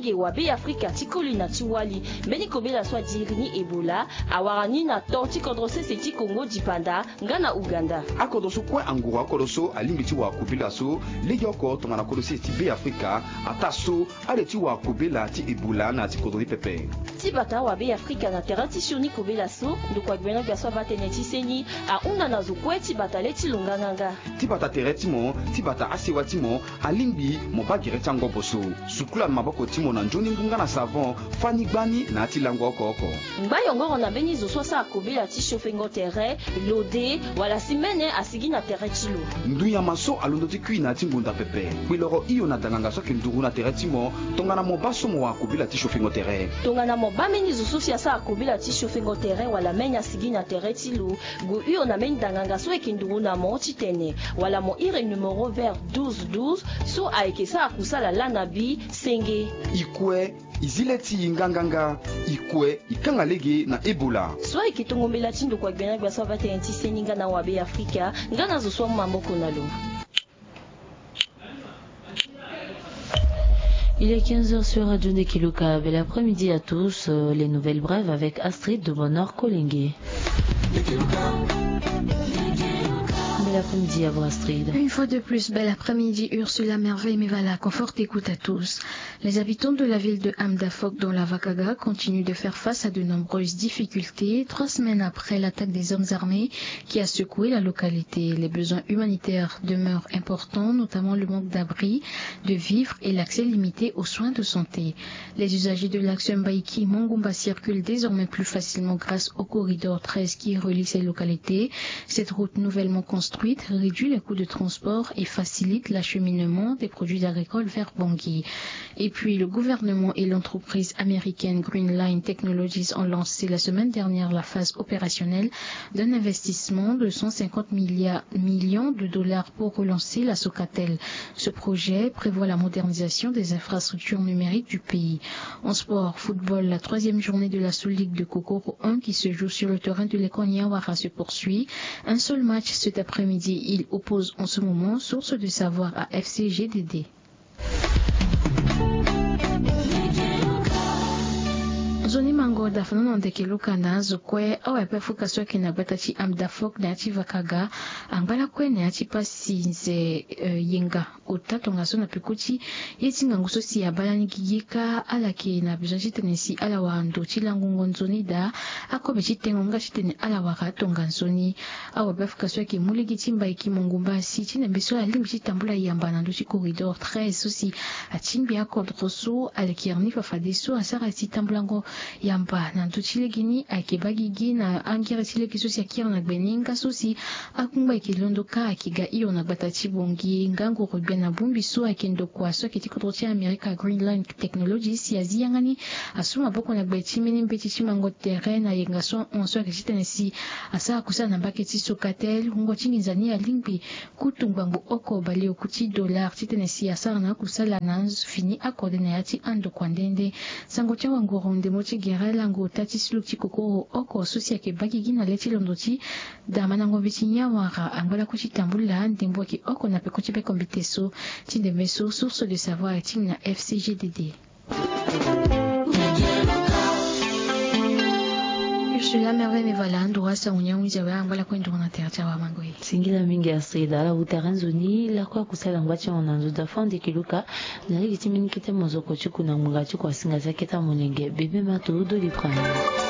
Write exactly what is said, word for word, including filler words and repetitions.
Nge wa Be Afrika ti koli na ti wali, mbeni kobela so adiri ni Ebola awara ni na to ti kodro sese ti Kongo dipanda nga na Uganda. Akodro so kue anguru akodro so alingbi ti wara kobela so legeoko tongana kodro sese ti Be Afrika, ataa so ale ti wara kobela ti Ebola na ya ti kodro ni pepe. Ti bata wa Be Afrika na tere ti sioni kobela so, ndokua gbena gbia so abaa tënë ti seni ahunda na zo kue ti bata le ti lo nganganga. Ti bata tere ti mo, ti bata asewa ti mo, alingbi mo baa gere ti angobo so. Sukula maboko ti mo na nzoni ngu nga na savon, fani gbani na ya ti lango oko oko. Ngba yongoro na mbeni zo so asara kobela ti siofengo tere, lode, wala si mene asigi na tere ti lo. Ndu nyama so alondo ti kui na ya ti ngonda pepe. Kpiloro hio na danganga so ayeke nduru na tere ti mo, tongana mo baa so mo wara kobela ti siofengo tere. Tongana mo baa mbeni zo so si asara kobela ti siofengo tere wala mene asigi na tere ti lo, gue hio na mbeni danganga so ayeke nduru na mo titene, wala mo iri numéro vert douze douze so ayeke sara kusala laa na bi senge. I kue, i zi le ti i nganganga. I kue, i kanga lege na Ebola. So ayeke tongo mbela ti ndokua gbena gbia so abaa tënë ti seni nga na wa Be Afrika, nga na zo so amu maboko na lo. Il est quinze heures sur Radio Ndekeluka. Bel après-midi à tous. Euh, les nouvelles brèves avec Astrid de Bonheur Kolenge. Bel après-midi à vous, Astrid. Une fois de plus, bel après-midi, Ursula, Merveille, Mevala, confort, écoute à tous. Les habitants de la ville de Hamdafok, dans la Vakaga, continuent de faire face à de nombreuses difficultés, trois semaines après l'attaque des hommes armés qui a secoué la localité. Les besoins humanitaires demeurent importants, notamment le manque d'abris, de vivres et l'accès limité aux soins de santé. Les usagers de l'axe Mbaïki-Mangumba circulent désormais plus facilement grâce au corridor treize qui relie ces localités. Cette route nouvellement construite réduit les coûts de transport et facilite l'acheminement des produits agricoles vers Bangui. Et puis, le gouvernement et l'entreprise américaine Green Line Technologies ont lancé la semaine dernière la phase opérationnelle d'un investissement de cent cinquante milliards, millions de dollars pour relancer la Socatel. Ce projet prévoit la modernisation des infrastructures numériques du pays. En sport, football, la troisième journée de la Sous-Ligue de Kokoro un qui se joue sur le terrain de l'école Niawara se poursuit. Un seul match cet après-midi, il oppose en ce moment Source du Savoir à F C G D D. Nzoni mango da fana na ndeke luka na azo kue awe ape afuka so ayeke na gbata ti Hamdafok na ya ti Vakaga. Angba lakue na ya ti pasi nze, eh, yenga ota tongaso na peko ti ye ti ngangu so si abaa lani gigi kâ, ala yeke na besoin titene si ala wara ndo ti langongo nzoni daa akobe ti tengo nga titene ala wara atonga nzoni. Awabe afuka so ayeke mu lege ti Mbaïki-Mangumba si ti ndembe so alingbi ti tambula yamba na ndö ti corridor treize so si atingbi akodro so aleke iri ni fafadeso asara ti tambulango yamba na ndö ti lege ni ayeke baa gigi na angere ti lege so si akiri na gbe ni nga so si akungba ayeke londo kâ ayeke ga hio na gbata ti Bangui. Nga ngoro gbia na bongbi so ayeke ndokua so ayeke ti kodro ti Amerika Green Line Technologies si azi yanga ni asu maboko na gbe ti mbeni mbeti ti mango tere na yenga so ahon so ayeke titene si asara kusala na mbage ti Socatel. Wungo ti nginza ni alingbi kutu ngbangbo oko baleoku ti dollar titene si asara na akusala na fini akode na ya ti andokua nde nde. Sango ti awanguru ndembo ti gere lango ota ti suluku ti kokoro oko so si ayeke baa gigi na le ti londo ti damandango mbi ti Niawara angba lakue ti tambula ndembo ayeke oko na peko ti bekombite so. Ti ndembe so Source de Savoir atingbi na F C G D D. Ursula Merveille Mevala ndo wa sango ni ahunzi awe angba lakue nduru na tere ti awamango ye. Singila mingi Astrid, ala huta tere nzoni lakue akusala ngba ti ahon na nzo da fo ndeke luka. Na lege ti mbeni kete mozoko ti ku na ngbonga ti ku asinga ti akete amolenge bebe ma to do lipra na.